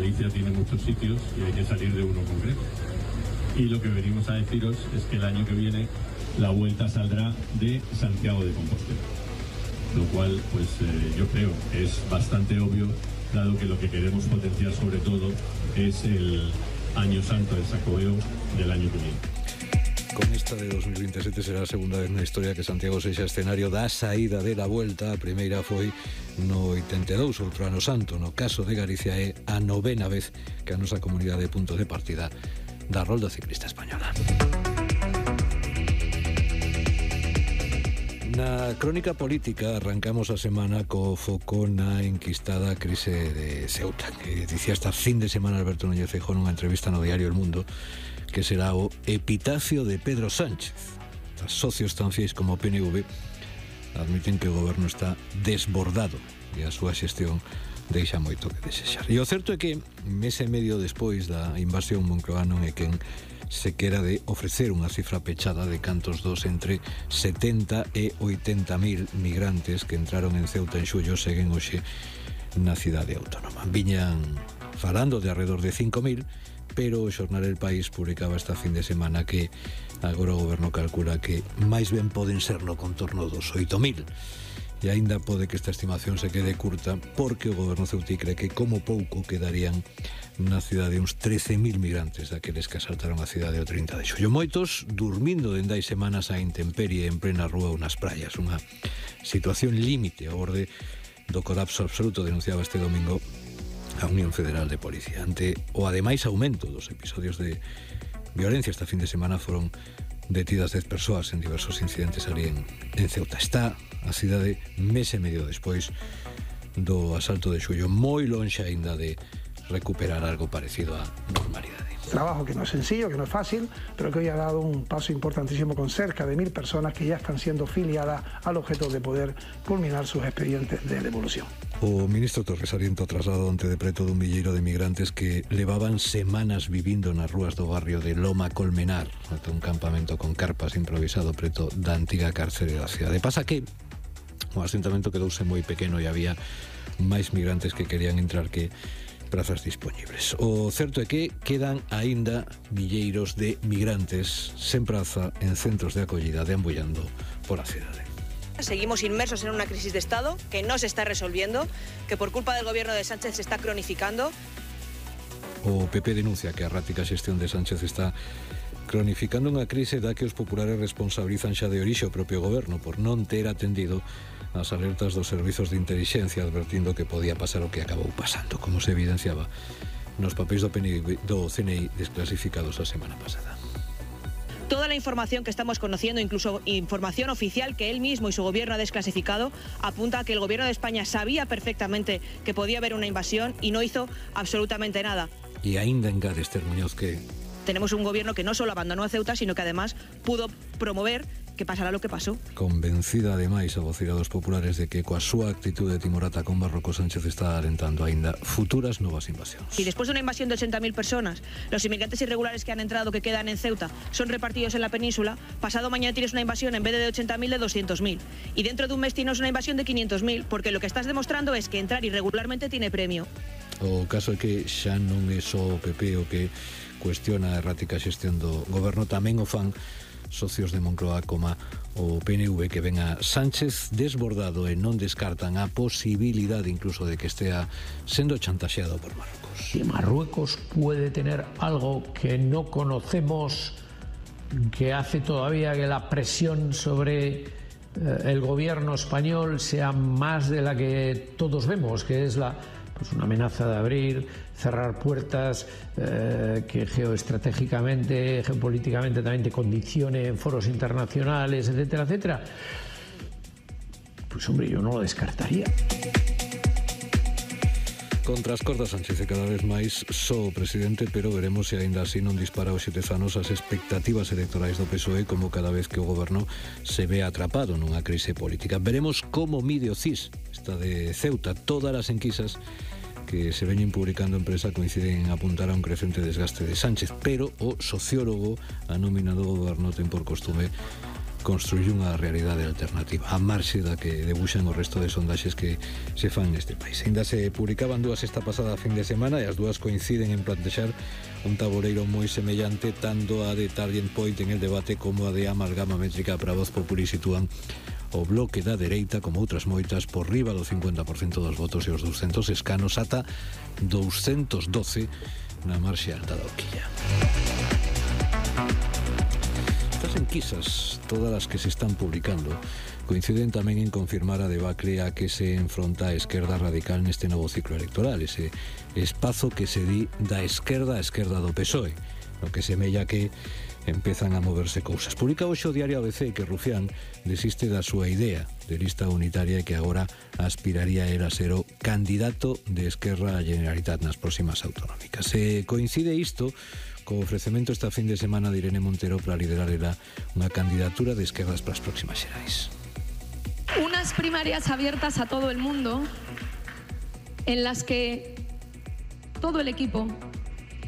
Galicia tiene muchos sitios y hay que salir de uno concreto. Y lo que venimos a deciros es que el año que viene la vuelta saldrá de Santiago de Compostela. Lo cual, pues yo creo que es bastante obvio, dado que lo que queremos potenciar sobre todo es el Año Santo del Xacobeo del año que viene. Con esta de 2027 será a segunda vez na historia que Santiago sexa escenario da saída de la Vuelta. A primeira foi no 82, outro Ano Santo. No caso de Galicia é a 9ª vez que a nosa comunidade é punto de partida da Rolda Ciclista Española. Na crónica política arrancamos a semana co foco na enquistada crise de Ceuta, que dicía esta fin de semana Alberto Núñez Feijóo nunha entrevista no diario El Mundo que será o epitafio de Pedro Sánchez. Os socios tan fiéis como o PNV admiten que o goberno está desbordado e a súa xestión deixa moito que desexar. E o certo é que mes e medio despois da invasión Moncloa non é quen se quera de ofrecer unha cifra pechada de cantos dos entre 70 e 80.000 migrantes que entraron en Ceuta en xullo seguen hoxe na cidade autónoma. Viñan falando de alrededor de 5.000, pero o xornal El País publicaba esta fin de semana que agora o goberno calcula que máis ben poden ser no contorno dos 8.000. E aínda pode que esta estimación se quede curta porque o goberno ceutí cree que como pouco quedarían na cidade uns 13.000 migrantes daqueles que asaltaron a cidade o 30 de xullo. Moitos durmindo dende hai semanas a intemperie en plena rúa ou nas praias. Unha situación límite ao borde do colapso absoluto, denunciaba este domingo a Unión Federal de Policía. Ante o ademais aumento dos episodios de violencia esta fin de semana foron detidas 10 persoas en diversos incidentes ali en Ceuta. Está a cidade mes e medio despois do asalto de xullo, moi lonxe aínda de recuperar algo parecido á normalidade. Trabajo que no es sencillo, que no es fácil, pero que hoy ha dado un paso importantísimo con cerca de 1.000 personas que ya están siendo filiadas al objeto de poder culminar sus expedientes de devolución. O ministro Torres Ariento trasladou onte de preto dun milleiro de migrantes que levaban semanas vivindo nas rúas do barrio de Loma Colmenar, ata un campamento con carpas improvisado preto da antiga cárcere da cidade. Pasa que o asentamento quedouse moi pequeno e había máis migrantes que querían entrar que prazas dispoñibles. O certo é que quedan aínda milleiros de migrantes sen praza en centros de acollida deambullando por a cidade. Seguimos inmersos en una crisis de Estado que no se está resolviendo, que por culpa del gobierno de Sánchez se está cronificando. O PP denuncia que a errática xestión de Sánchez está cronificando unha crise da que os populares responsabilizan xa de orixe o propio goberno por non ter atendido as alertas dos servizos de intelixencia advertindo que podía pasar o que acabou pasando, como se evidenciaba nos papéis do CNI desclasificados a semana pasada. Toda la información que estamos conociendo, incluso información oficial que él mismo y su gobierno ha desclasificado, apunta a que el gobierno de España sabía perfectamente que podía haber una invasión y no hizo absolutamente nada. E aínda engade Esther Muñoz que tenemos un gobierno que no solo abandonó a Ceuta, sino que además pudo promover que pasará lo que pasó. Convencida ademais a vocira dos populares de que coa súa actitude timorata con Marrocos Sánchez está alentando aínda futuras novas invasións. Si después de una invasión de 80.000 personas, los inmigrantes irregulares que han entrado, que quedan en Ceuta, son repartidos en la península, pasado mañana tienes una invasión en vez de 80.000 de 200.000. Y dentro de un mes tienes una invasión de 500.000, porque lo que estás demostrando es que entrar irregularmente tiene premio. O caso é que xa non é só o PP o que cuestiona a errática xestión do goberno, tamén o fan socios de Moncloa como o PNV que ven a Sánchez desbordado e non descartan a posibilidade incluso de que estea sendo chantaxeado por Marruecos. Si Marruecos puede tener algo que no conocemos, que hace todavía que la presión sobre el gobierno español sea más de la que todos vemos, que es una amenaza de abrir, cerrar puertas, que geoestratégicamente, geopolíticamente también te condicione en foros internacionales, etcétera, etcétera. Pues hombre, yo no lo descartaría. Contra as cordas Sánchez cada vez máis só o presidente, pero veremos se aínda así non dispara os xetezanos as expectativas electorais do PSOE como cada vez que o goberno se ve atrapado nunha crise política. Veremos como mide o CIS, esta de Ceuta. Todas as enquisas que se veñen publicando en prensa coinciden en apuntar a un crecente desgaste de Sánchez, pero o sociólogo a nómina do goberno ten por costume construir unha realidade alternativa a marxe da que debuxan o resto de sondaxes que se fan neste país. Ainda se publicaban dúas esta pasada fin de semana e as dúas coinciden en plantexar un tabuleiro moi semellante, tanto a de Turning Point en el debate como a de Amalgama Métrica para Voz Populi sitúan o bloque da dereita, como outras moitas, por riba do 50% dos votos e os 200 escanos ata 212 na marxe alta da horquilla. Estas enquisas, todas as que se están publicando, coinciden tamén en confirmar a debacle a que se enfronta a esquerda radical neste novo ciclo electoral, ese espazo que se di da esquerda a esquerda do PSOE, no que semella que empezan a moverse cousas. Publica hoxe o diario ABC que Rufián desiste da súa idea de lista unitaria e que agora aspiraría a ser o candidato de Esquerra a Generalitat nas próximas autonómicas. Se coincide isto co ofrecemento esta fin de semana de Irene Montero para liderar unha candidatura de esquerdas para as próximas xerais. Unas primarias abiertas a todo el mundo en las que todo el equipo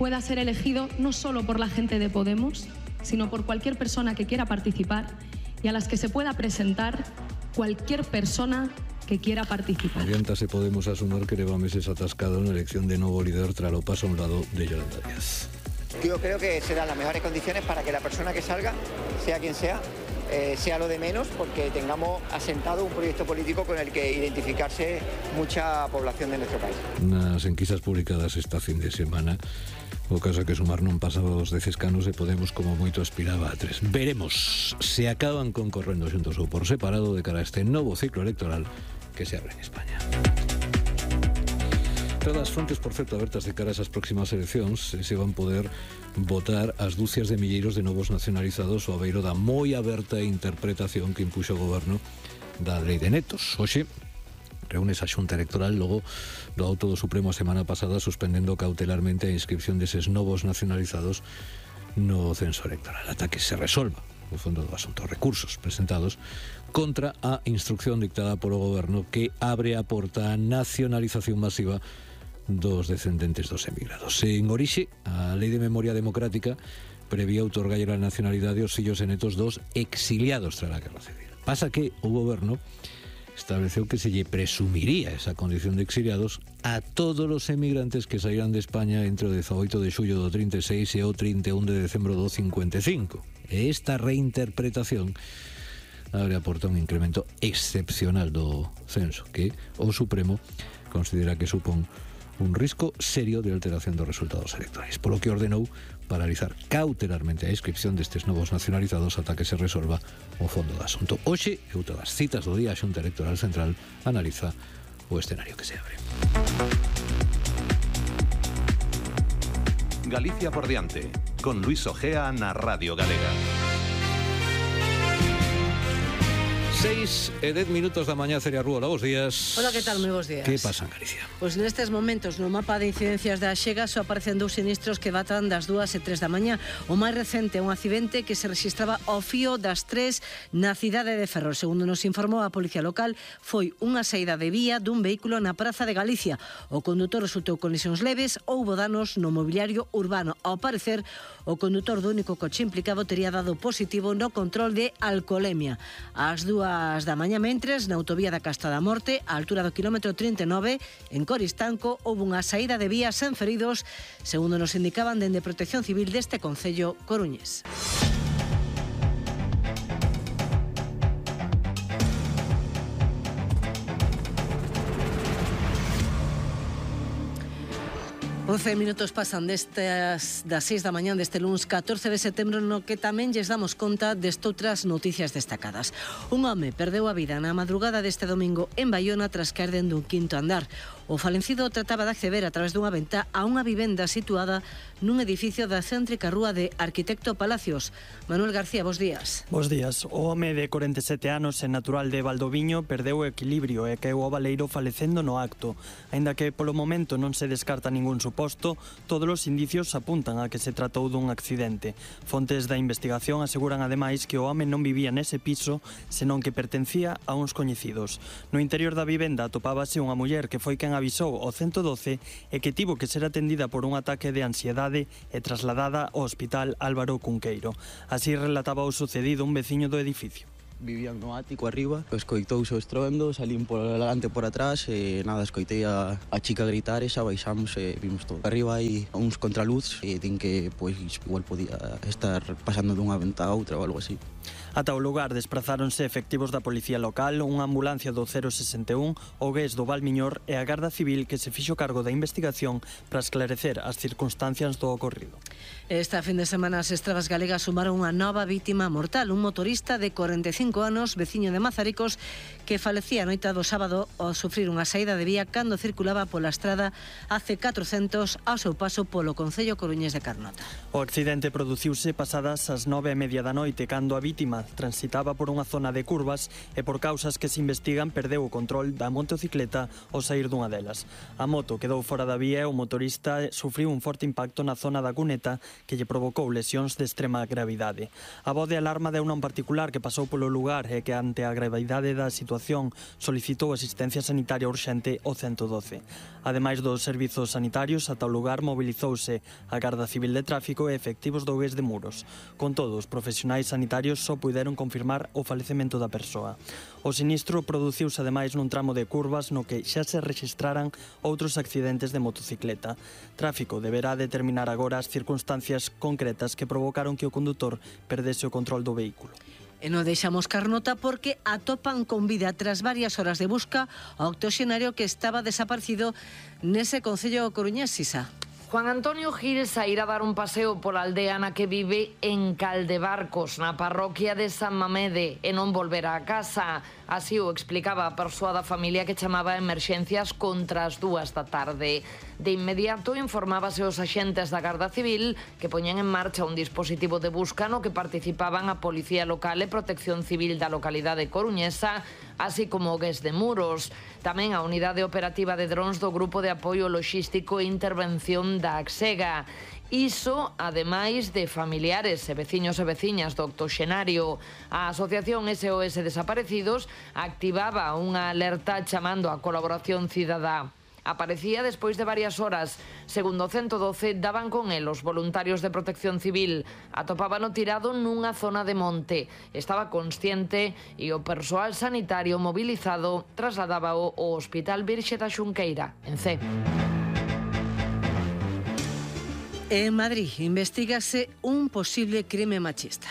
pueda ser elegido no solo por la gente de Podemos, sino por cualquier persona que quiera participar y a las que se pueda presentar cualquier persona que quiera participar. Oriéntase Podemos asumir que leva meses atascado na elección de novo líder tras o paso a un lado de Yolanda Díaz. Yo creo que se dan las mejores condiciones para que la persona que salga, sea quien sea, sea lo de menos, porque tengamos asentado un proyecto político con el que identificarse mucha población de nuestro país. Nas enquisas publicadas esta fin de semana, o caso que Sumar non pasaba dos 10 escanos e Podemos como moito aspiraba a 3. Veremos se acaban concorrendo xuntos ou por separado de cara a este novo ciclo electoral que se abre en España. Todas as frontes, por certo, abertas de cara a esas próximas eleccións, se van poder votar as dúcias de milleiros de novos nacionalizados ao abeiro da moi aberta interpretación que impuxo o goberno da lei de netos. Hoxe reúnes a Xunta Electoral logo do auto do Supremo a semana pasada suspendendo cautelarmente a inscripción deses novos nacionalizados no censo electoral ata que se resolva o fondo do asunto, recursos presentados contra a instrucción dictada polo goberno que abre a porta a nacionalización masiva dos descendentes dos emigrados. En orixe, a Lei de Memoria Democrática prevía outorgalle a nacionalidade aos fillos e netos dos exiliados tras a Guerra Civil. Pasa que o goberno estableceu que se lle presumiría esa condición de exiliados a todos os emigrantes que saíran de España entre o 18 de xullo do 36 e o 31 de decembro do 55. E esta reinterpretación abre a porta un incremento excepcional do censo que o Supremo considera que supón un risco serio de alteración dos resultados electorais, polo que ordenou paralizar cautelarmente a inscripción destes novos nacionalizados ata que se resolva o fondo do asunto. Hoxe, e outra das citas do día, a Xunta Electoral Central analiza o escenario que se abre. Galicia por diante, con Luis Ojea na Radio Galega. 6:10 da mañá, Celia Rúa, bos días. Hola, que tal? Moi bos días. Que pasa en Galicia? Pois nestes momentos no mapa de incidencias da Xega só aparecen dous sinistros que datan das 2 e 3 da mañá. O máis recente é un accidente que se rexistraba ao fío das 3 na cidade de Ferrol. Segundo nos informou a Policía Local, foi unha saída de vía dun vehículo na Praza de Galicia. O condutor resultou con lesións leves, houbo danos no mobiliario urbano. Ao parecer, o condutor do único coche implicado tería dado positivo no control de alcoholemia. Ás 2 da mañá mentres, na autovía da Casta da Morte, á altura do kilómetro 39, en Coristanco, houve unha saída de vía sen feridos, segundo nos indicaban dende Protección Civil deste concello coruñés. Minutos pasan das 6 da mañá deste luns 14 de setembro, no que tamén lles damos conta destoutras noticias destacadas. Un home perdeu a vida na madrugada deste domingo en Baiona tras caer dende un quinto andar. O falecido trataba de acceder a través dunha ventá a unha vivenda situada nun edificio da céntrica rúa de Arquitecto Palacios. Manuel García, bos días. Bos días. O home de 47 anos e natural de Valdoviño perdeu o equilibrio e caeu ao baleiro falecendo no acto. Aínda que polo momento non se descarta ningún suposto, agosto, todos os indicios apuntan a que se tratou dun accidente. Fontes da investigación aseguran ademais que o home non vivía nese piso, senón que pertencía a uns coñecidos. No interior da vivenda atopábase unha muller que foi quen avisou ao 112 e que tivo que ser atendida por un ataque de ansiedade e trasladada ao Hospital Álvaro Cunqueiro. Así relataba o sucedido un veciño do edificio. Vivían no ático arriba, escoitouse o estruendo, salín por delante por atrás e nada, escoitei a chica gritar e xa baixamos e vimos todo. Arriba hai uns contraluz e din que pois igual podía estar pasando dunha venta a outra ou algo así. Ata o lugar desprazáronse efectivos da Policía Local, unha ambulancia do 061, o GES do Valmiñor e a Garda Civil que se fixo cargo da investigación para esclarecer as circunstancias do ocorrido. Esta fin de semana as estradas galegas sumaron unha nova vítima mortal, un motorista de 45 anos, veciño de Mazaricos, que falecía a noite do sábado ao sufrir unha saída de vía cando circulaba pola estrada AC400 ao seu paso polo concello coruñés de Carnota. O accidente produciuse pasadas as 9:30 da noite, cando a vítima transitaba por unha zona de curvas e por causas que se investigan perdeu o control da motocicleta ao sair dunha delas. A moto quedou fora da vía e o motorista sufriu un forte impacto na zona da cuneta que lle provocou lesións de extrema gravidade. A voz de alarma de un particular que pasou polo lugar e que ante a gravidade da situación solicitou asistencia sanitaria urxente ao 112. Ademais dos servizos sanitarios, ata o lugar mobilizouse a Garda Civil de Tráfico e efectivos do GES de Muros. Con todo, os profesionais sanitarios só puderon confirmar o falecemento da persoa. O sinistro produciuse ademais nun tramo de curvas no que xa se rexistraran outros accidentes de motocicleta. Tráfico deberá determinar agora as circunstancias concretas que provocaron que o condutor perdese o control do vehículo. E non deixamos Carnota porque atopan con vida tras varias horas de busca ao octoxenario que estaba desaparecido nese concello coruñés, Sisa. Juan Antonio Gil sairá a dar un paseo pola aldea na que vive en Caldebarcos, na parroquia de San Mamede, e non volverá a casa. Así o explicaba a persoa da familia que chamaba a emerxencias contra as 2 da tarde. De inmediato informábase aos axentes da Garda Civil que poñen en marcha un dispositivo de busca no que participaban a Policía Local e Protección Civil da localidade coruñesa, así como o GES de Muros. Tamén a Unidade Operativa de Drons do Grupo de Apoio Logístico e Intervención da Axega. Iso, ademais de familiares e veciños e veciñas do octoxenario. A Asociación SOS Desaparecidos activaba unha alerta chamando a colaboración cidadá. Aparecía despois de varias horas. Segundo o 112, daban con el os voluntarios de Protección Civil. Atopábano tirado nunha zona de monte. Estaba consciente e o persoal sanitario mobilizado trasladábao ao Hospital Virxe da Xunqueira, en Cee. En Madrid investígase un posible crime machista.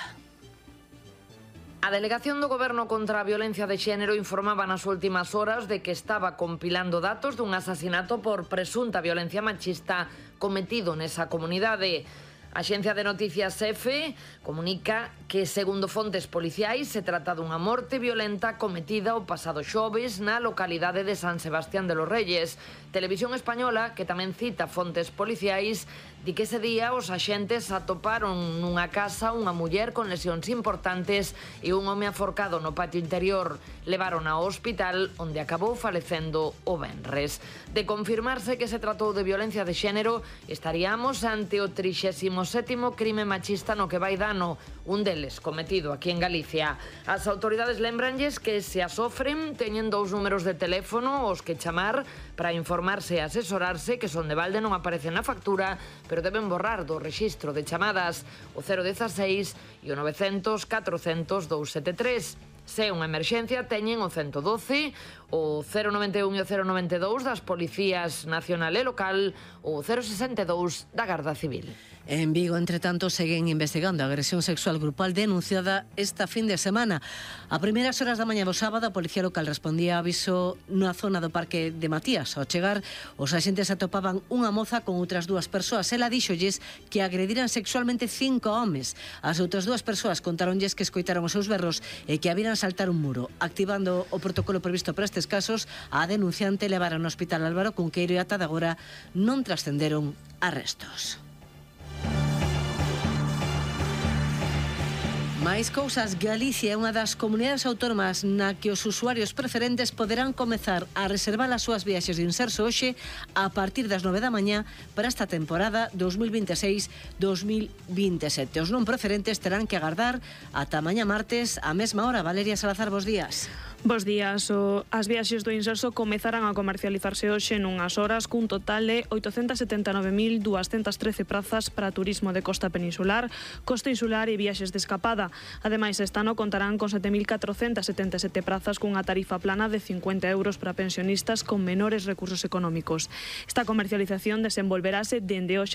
A Delegación do Goberno contra a Violencia de Xénero informaba nas últimas horas de que estaba compilando datos dun asasinato por presunta violencia machista cometido nesa comunidade. A Axencia de Noticias EFE comunica que, segundo fontes policiais, se trata dunha morte violenta cometida o pasado xoves na localidade de San Sebastián de los Reyes. Televisión Española, que tamén cita fontes policiais, di que ese día os axentes atoparon nunha casa unha muller con lesións importantes e un home aforcado no patio interior. Levaron ao hospital, onde acabou falecendo o venres. De confirmarse que se tratou de violencia de xénero, estaríamos ante o 37º crime machista no que vai dano, un deles cometido aquí en Galicia. As autoridades lembranlles que se a sofren teñen 2 números de teléfono os que chamar para informarse e asesorarse, que son de balde non aparecen na factura, pero deben borrar do rexistro de chamadas o 016 e o 900 400 273. Se é unha emerxencia, teñen o 112, o 091 e o 092 das Policías Nacional e Local, o 062 da Garda Civil. En Vigo, entre tanto, seguen investigando a agresión sexual grupal denunciada esta fin de semana. A primeiras horas da mañá do sábado, a Policía Local respondía a aviso na zona do Parque de Matías. Ao chegar, os axentes atopaban unha moza con outras 2 persoas. Ela díxolles que agrediran sexualmente 5 homes. As outras 2 persoas contaronlles que escoitaron os seus berros e que a viran saltar un muro. Activando o protocolo previsto para estes casos, a denunciante levaron ao Hospital Álvaro Cunqueiro e ata agora non trascenderon arrestos. Máis cousas, Galicia é unha das comunidades autónomas na que os usuarios preferentes poderán comezar a reservar as súas viaxes de inserso hoxe a partir das 9 da mañá para esta temporada 2026-2027. Os non preferentes terán que agardar ata mañá martes a mesma hora. Valeria Salazar, bos días. Bos días. As viaxes do inserso comezarán a comercializarse hoxe nunhas horas cun total de 879.213 prazas para turismo de costa peninsular, costa insular e viaxes de escapada. Ademais, este ano contarán con 7.477 prazas cunha tarifa plana de 50 euros para pensionistas con menores recursos económicos. Esta comercialización desenvolverase dende hoxe